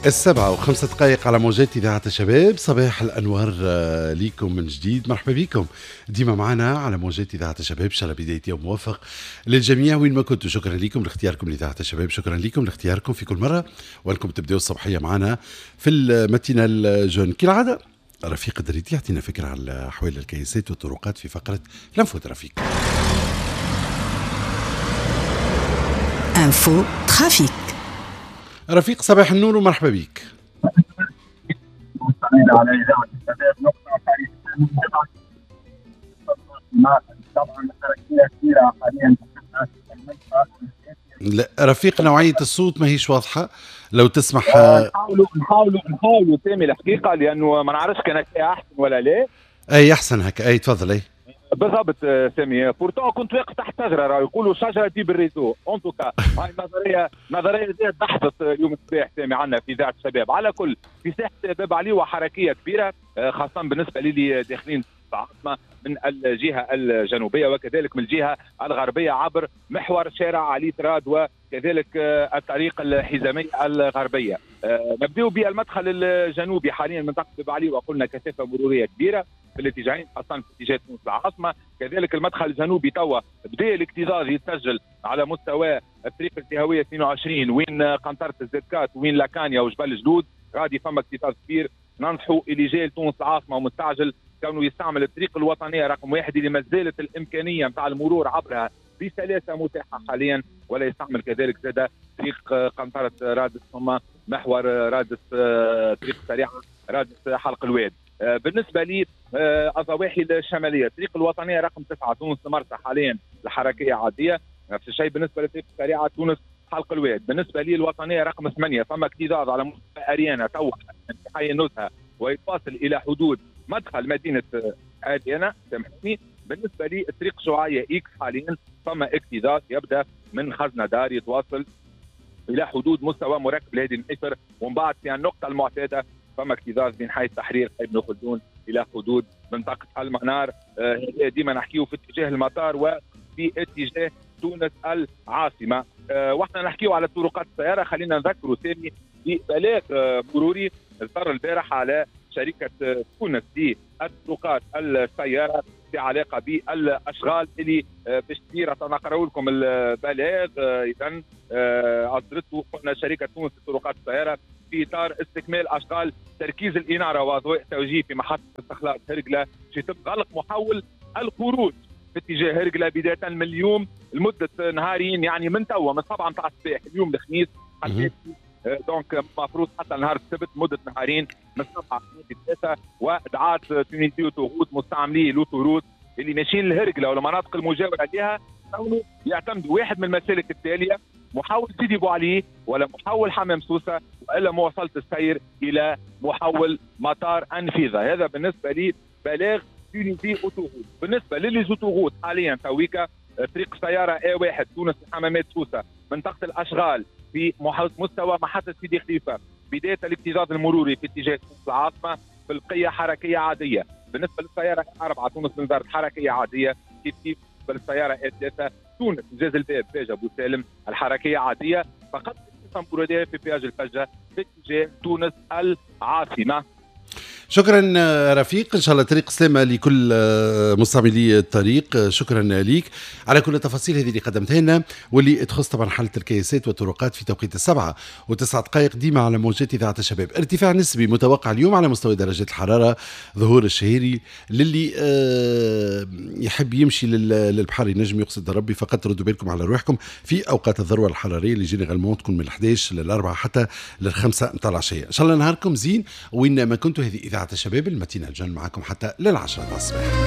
7:05 على موجات إذاعة الشباب. صباح الأنوار ليكم من جديد، مرحبا بكم ديما معنا على موجات إذاعة الشباب. إن شاء الله بداية يوم موفق للجميع وين ما كنتوا. شكرا لكم لاختياركم لإذاعة الشباب، شكرا لكم لاختياركم في كل مرة وأنكم تبدأوا الصباحية معنا في ال matinale jeune. كالعادة رفيق الدريدي يعطينا فكرة على أحوال الكياسات والطرقات في فقرة l'info trafic. info trafic. رفيق صباح النور ومرحبا بك. لا رفيق، نوعية الصوت ما هيش واضحة، لو تسمح. نحاولوا سامي الحقيقة، لأنه ما نعرفش كان أحسن ولا لا. أي أحسن هكا، أي تفضل. أي بالضبط سامي، pourtant كنت واقف تحت شجرة، راه يقولوا شجرة تجيب ال réseau. en tout cas هاي نظرية زاد بحثت اليوم الصباح سامي عندنا في اذاعة الشباب. على كل في ساحة باب عليوه حركية كبيرة، خاصة بالنسبة للي داخلين العاصمة من الجهة الجنوبية وكذلك من الجهة الغربية عبر محور شارع علي تراد وكذلك الطريق الحزاميه الغربية. نبداو بالمدخل الجنوبي حاليا منطقة باب عليوه، وقلنا كثافة مروريه كبيرة في الاتجاهين خاصة في اتجاه تونس العاصمة. كذلك المدخل الجنوبي توا بدا الاكتظاظ يتسجل على مستوى الطريق الجهوية 22 وين قنطرة الزكات وين لاكانيا وجبل جدود، غادي فما اكتظاظ كبير. ننصحوا اللي جاي لتونس العاصمة ومستعجل كونه يستعمل الطريق الوطنية رقم 1 اللي ما زالت الامكانية نتاع المرور عبرها بسلاسة متاحة حاليا، ولا يستعمل كذلك زاد طريق قنطرة رادس ثم محور رادس طريق سريعة رادس حلق الواد. بالنسبة لي الضواحي الشمالية الطريق الوطنية رقم 9 تونس المرسى حاليا الحركية عادية، نفس الشيء بالنسبة للطريق السريعة تونس حلق الواد. بالنسبة لي الوطنية رقم 8 فما اكتظاظ على مستوى اريانا تو في حي النزهه ويتواصل الى حدود مدخل مدينة اريانا، سامحوني. بالنسبة لي الطريق شعاعيه X حاليا فما اكتظاظ يبدا من خزنه دار يتواصل الى حدود مستوى مركب الهادي النيفر، ومن بعد في النقطة المعتادة فما اكتظاظ بين حي التحرير حي ابن خلدون الى حدود منطقة المنار. ديما نحكيو في اتجاه المطار وفي اتجاه تونس العاصمة. واحنا نحكيو على طرقات السيارة، خلينا نذكروا ثاني ببلاغ مروري صار البارح على شركة تونس للطرقات السيارة في علاقة بالاشغال اللي باش تصير. نقراو لكم البلاغ. اذا اصدرته قلنا شركة تونس للطرقات السيارة في اطار استكمال اشغال تركيز الاناره واضواء التوجيه في محطة استخلاص هرقله، باش يتم غلق محول الخروج في اتجاه هرقله بداية من اليوم لمدة نهارين، يعني من توا من 7 نتاع الصباح اليوم الخميس حتى donc المفروض حتى نهار السبت مده نهارين من 7 ل 3. ودعات Tunisie Autoroutes مستعملي l'autoroute اللي ماشيين لهرقله والمناطق المجاورة لها يعتمدوا واحد من المسالك التالية: محول سيدي بوعلي ولا محول حمام سوسة والا مواصلة السير الى محول مطار انفيذه. هذا بالنسبة لي بلاغ Tunisie Autoroutes. بالنسبة ل les autoroutes حاليا تويكا طريق سيارة A1 تونس الحمامات سوسة منطقة الاشغال في مستوى محطة سيدي خليفة بداية الاكتظاظ المروري في اتجاه تونس العاصمة، في البقية حركية عادية. بالنسبة للسيارة 4 تونس بنزرت حركية عادية، كيف كيف بالسيارة 3 تونس جاز الباب باجة ابو سالم الحركية عادية، فقط مروريه في péage الفجه في اتجاه تونس العاصمة. شكرا رفيق، ان شاء الله طريق سلامه لكل مستعملي الطريق. شكرا ليك على كل التفاصيل هذه اللي قدمتها لنا واللي تخص طبعا حاله الكياسات والطرقات في توقيت 7:09 ديما على موجات اذاعة الشباب. ارتفاع نسبي متوقع اليوم على مستوى درجات الحرارة، ظهور الشهيري للي يحب يمشي للبحر ينجم يقصد ربي، فقط ردوا بالكم على روحكم في اوقات الذروة الحرارية اللي généralement تكون من 11 لل4 حتى لل5 نتاع العشية. ان شاء الله نهاركم زين وين ما كنتوا. هذه اذاعة الشباب ال matinale jeune معكم حتى لل10 الصباح.